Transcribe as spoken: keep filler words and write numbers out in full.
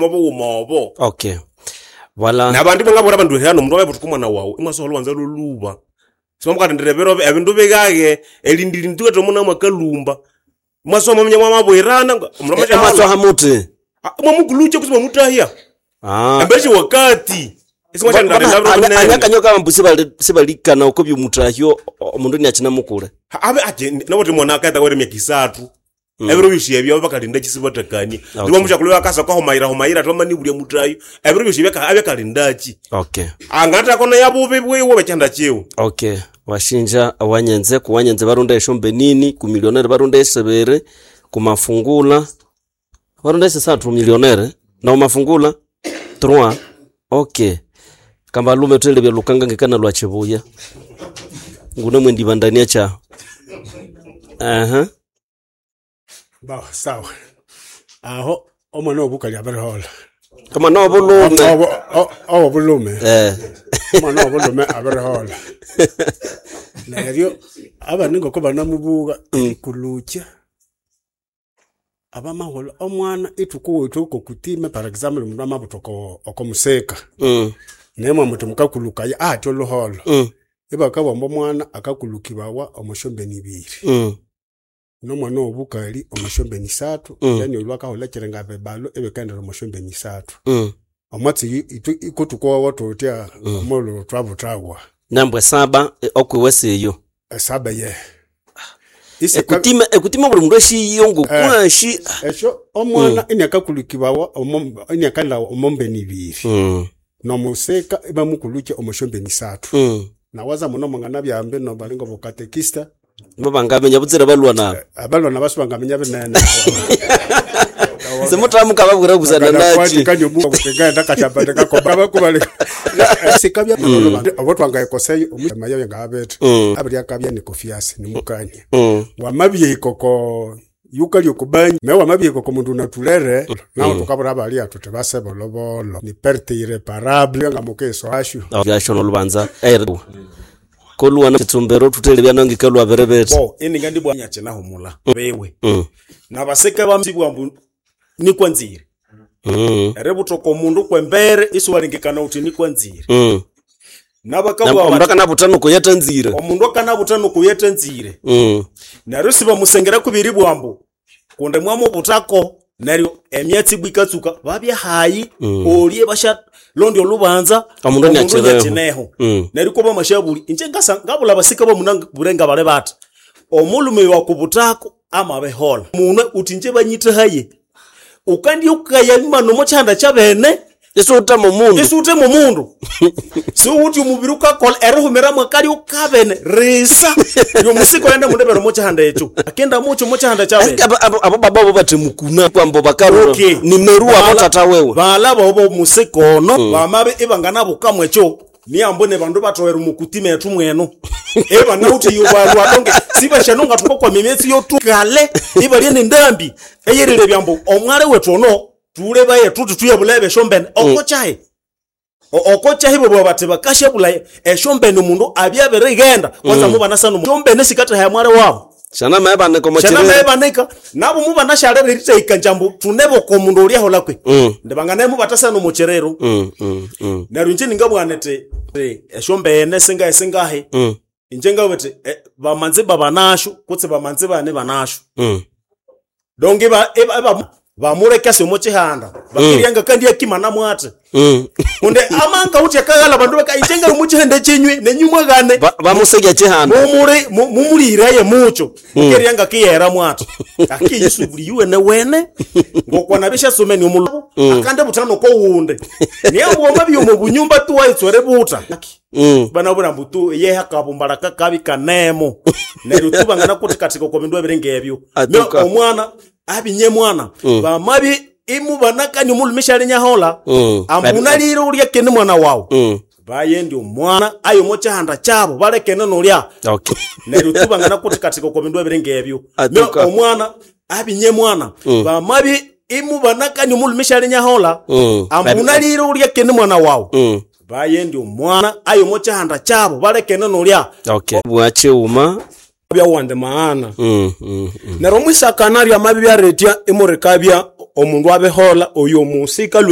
Mobughuma obo. Okay, voilà. Nabandi bangabwira abandu hano omundu amabuthuka omwana wawu imwasoha olhubanza lholhuba. Simwamukalindira ebiro ebindu bigaghe, erindilindi thuwithe omuna mwakalhumba. Imwasoha mwaminya mwamabwirana omundu amasyaholha Imwasoha muthi? Imwamukulukya kutse imwamutahya. Ah. Embere syawakati. Isimwasyalindalinda biro binene. Anyakanyo kabambu sibali sibalikana oko byomutahyo omundu iniakyinamukule. Abe ati nawuthe mwana akaheka awere myaka isathu. Ebiro byosi ebyo bakalinda sibathakania. Okay. Neryo omusyakulhu akasa akahumayira humayira athi bamanibulya mutahyo. Ebiro byosi ebyo abya akalindaki. Okay. Angathako neyabubi bwiwe bwekyanda kyiwe. Okay, washinja awanyenze kuwanyenze barunda eshombe nini, kumilionere barunda esibiri, kumafungula barunda esisathu milionere na umafungula trois. Okay, kambalume twelebya lukanga ngekana lwa chibuya ngune mwendibandania cha aha. Ba sawa aho omwana wobukali abirihola. Kama no bulume. Owo bulume. Eh. Omwana wobulume abirihola neryo abandi ngoko banamubuga erikulukya abamaghulha omwana ithukuwithe okokutime. For example, omundu amabutha oko okomusika mm. nemwe muthi mukakulukaya ahatya olhuholho, Mm. ibakabugha ambu omwana akakulukibawa omwasyombeni ibiri, Mm. nomwana owobukali omwasyombeni isathu. Mm. Then oyu akaholha ekiringa bibalo ibikaghendera omwasyombeni isathu. Mm. Omwatsi ithwe ikutukowawa thuthya omulhu thwabuthawa. Nambwe saba eh, okwiwe siyo. Esaba ye Isika- Ekutima ekutima buli mundu ashiyo ngokwashi. Esyo omwana iniakakulukibwawa omo- iniakalhawa omombeni ibiri, Mm. nomusika ibamukulukya omwasyombeni isathu. Mm. Nawaza muno mwanganabyambi nobalinga bokatekista. Babangaminya butsira balwa nabo. Abalwana basu bangaminya binene. Simuthamuka babwira busana nachi. Obotwangaikoseyo omumayo ngabethe Mm. abiryakabya nikofiasi nimukania Mm. wamabyikoko yukali okubanyi me wamabyikoko mundu unatulere nawo tukabura abalia tuthi basebolobolo ni perte irreparable nga mukeso ashu. Byasho nolubanza er koluwa na kitsumbero tutele byanangi kalwa berebete. Bo ininga ndibwa nyakinahumula bewe Mm. nabaseke bamzibwa mbu nikwa nzire Mm. eributhoka omundu kwembere isiwalengekana uthi nikwa nzire. Mm. Nabakabwa Omundu bati akanabuthana kuyeta nzire. Omundu akanabutha nokuyeta nzire. Mm. Neryo sibamusengera kubiri bwambu kundi mwamubuthako neryo emyatsi ibwa ikatsuka babya hayi olye bashalondya olubanza. Omundu aniakineho. aniakineho. Mm. Neryo ko bamashabuli inje ngasa ngabula basika bamunabure ngabale bathi omulume wakubuthako amabihola munwe uthi inje banyithahaye ukandi ukaya imano mokyihanda kyabene. Isiwuthama omundu. Isiwuthema omundu siwuthi omubiri ukakolha erihumira mwakali ukabene risa lyomusika oyenda mundebere mokyihanda ekyo akenda mukyo mokyihanda kyabene. Eske abo abo- abo baba bo bathemukuna kwambo bakarura. Okay. Nimeruwa Bala- abo tata wewe. Bala bobo musika ono bamabe ibanganabukamu ekyo niyambo ne bandu batowera omukutima ethu mweno ibanawuthi yubalwa donge sibashano ngatuka mimyetsi yotukale ibalye nendambi eyerire byambo omwale wethu ono tulebaye tuthi tuyabulebe esyombene okokyahi okokyahi bobwa bati bakashabula esyombene omundu abyabirighenda kwanza mubanasana esyombene sikathaha mwale wabo. Shana maebane Shana komokyerere. maebanika nabo mubanashalere eritahika njambu tuneboka omundu olyahola kwe Mm. ndibanganaye mubatasana omukyerero. Mm. Mm. Mm. Neryo inje ningabugha niti ti esyombene singahi singahi Mm. inje ngabugha niti eh, bamanzi babanasho kutse bamanzi bane banasho Mm. donge iba- iba- iba- bamulekese omo kyihanda bakiryanga kandi akimana mwate Mm. kunde amanga uthi akaghala bandu baka inje nga mukyihanda kyenywe nenyu mwaghane. Ba- Bamusegya kyihanda. Mumuli mu- mumuliraye mucho mukeryanga kiyera mwathu akiyisubuli yuwene wene ngokwana bishasomeni omulo akande buthano kowunde niyambuwa mabyomo bunyumba tuwaitswere buta. Mm. Banabura mbu tu yeha kabumbala kakabi kanemo neryo tubangana kuti katika kwa bindu ebiringa ebyo. Atuka. Me omwana abinye mwana bamabi imubanakani omulume nyahola. Mm. Ambunalire ulya kene mwana wawu. Mm. Bayendi omwana ayo mokyihanda kyabo balekene nolya. Okay. Neryo tubangana kuti katika kwa bindu ebiringa ebyo. Me Atuka. omwana abinye mwana bamabi imubanakani omulume nyahola. Mm. Ambunalire ulya kene mwana wawu. Mm. Bayendi omwana ayo mokyihanda kyabo balekene nolya. Okay. Bwachiuma. Byawande maana. Mm. Mm. Mm. Neryo omwisakana ryamabi byaretya imurikabya omundu abihola oyo omusika lwe.